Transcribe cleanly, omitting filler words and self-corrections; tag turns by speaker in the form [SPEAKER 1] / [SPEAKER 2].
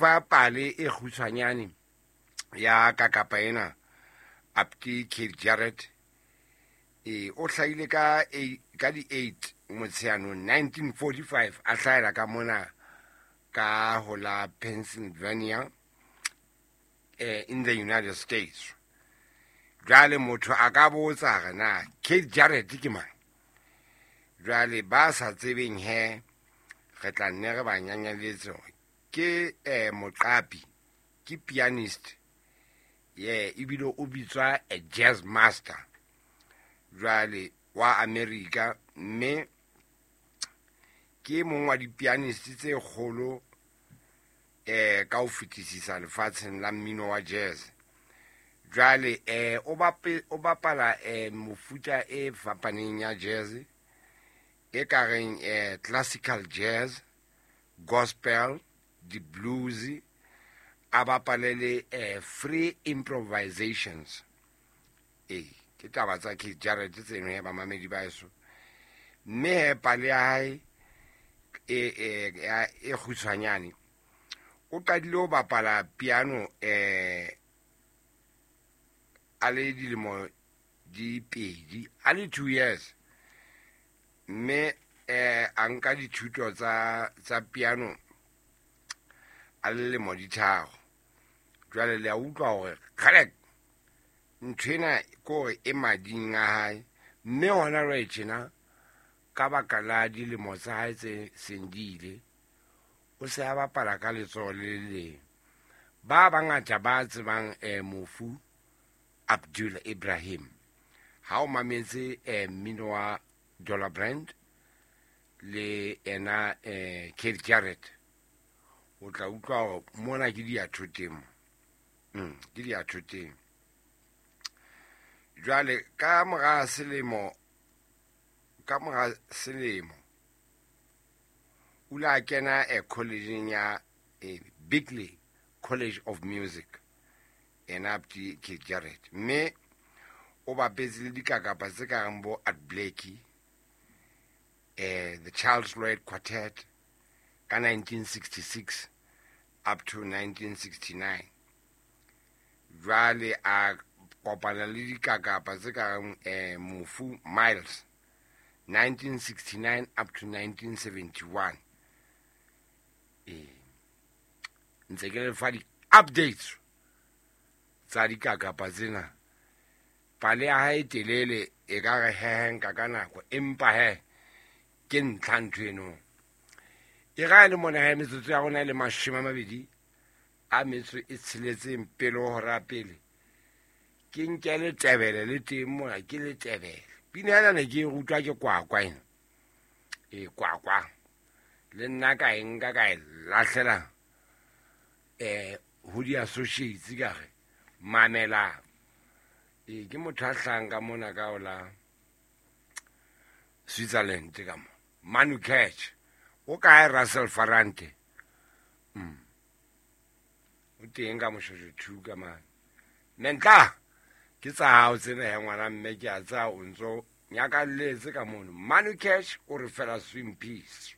[SPEAKER 1] Fa pale e kgutshwanyane ya kakapa ena Apti Keith Jarrett. E o hlahile ka ka di 8 Motsheanong 1945, a hlahela ka mona ka ho la Pennsylvania, in the United States. Jwale motho a ka botsa re na Keith Jarrett ke mang? Jwale ba sa tsebeng he, re tla nne re ba nyanyaletse hore ke moqapi, ke pianist ye ebile o bitswa a jazz master jwale wa America, mme ke mong wa di-pianist tse kgolo ka ho fetisisa lefatsheng la mmino wa jazz. Jwale o bapala mofuta e fapaneng ya jazz e ka reng classical jazz, gospel, di-blues, a bapale le free improvisations. Ee, ke taba tsa Keith Jarrett tseno he, bamamedi ba eso. Mme he, pale ya hae e kgutshwanyane, o qadile ho bapala piano a le dilemo di 2, a le 2 years, mme a nka dithuto tsa piano a le lemo di 3. Jwale le a utlwa hore kgalek ntho ena ke hore e mading a hae, mme hona jwale tjena ka baka la dilemo tsa hae tse seng di ile, o se a bapala ka letsoho le le leng. Ba bangata ba tsebang mofu Abdul Ibrahim, ha o mametse mmino wa Dollar Brand le ena Keith Jarrett, o tla utlwa hore mona ke diathoteng, ke diathoteng. Jwale ka mora selemo o ile a kena college ya Berklee College of Music, ena Abdi Keith Jarrett, mme o bapetse le dikakapa tse ka reng bo Art Blakey, the Charles Lloyd Quartet ka 1966 up to 1969. Jwale a kopana le dikakapa tse ka reng mofu Miles, 1969 up to 1971. Ee, ntse ke le fa di-updates tsa dikakapa tsena. Pale ya hae telele e ka re hehenka ka nako, empa he ke ntlha ntho eno e ga e le mona he. Metsotso ya rona e le 26 pele ho hora pele. Ke nke letebele le teng mona, ke letebele. Pina ena ne ke e rutwa ke kwakwa ena e kwakwa, le nna ka e nka ka e lahlela ho di-associates, ka re mamelang. Ee, ke motho a hlahang ka mona ka ola Switzerland ka mo Manu Catch. O kae Russell Farante? O teng ka Moshosho two ka mane. Mentla ke tsa hao tsena he, ngwana mme, ke a tsaya o ntso nyakalletse ka mono. Manu Cash o re fela swim peace.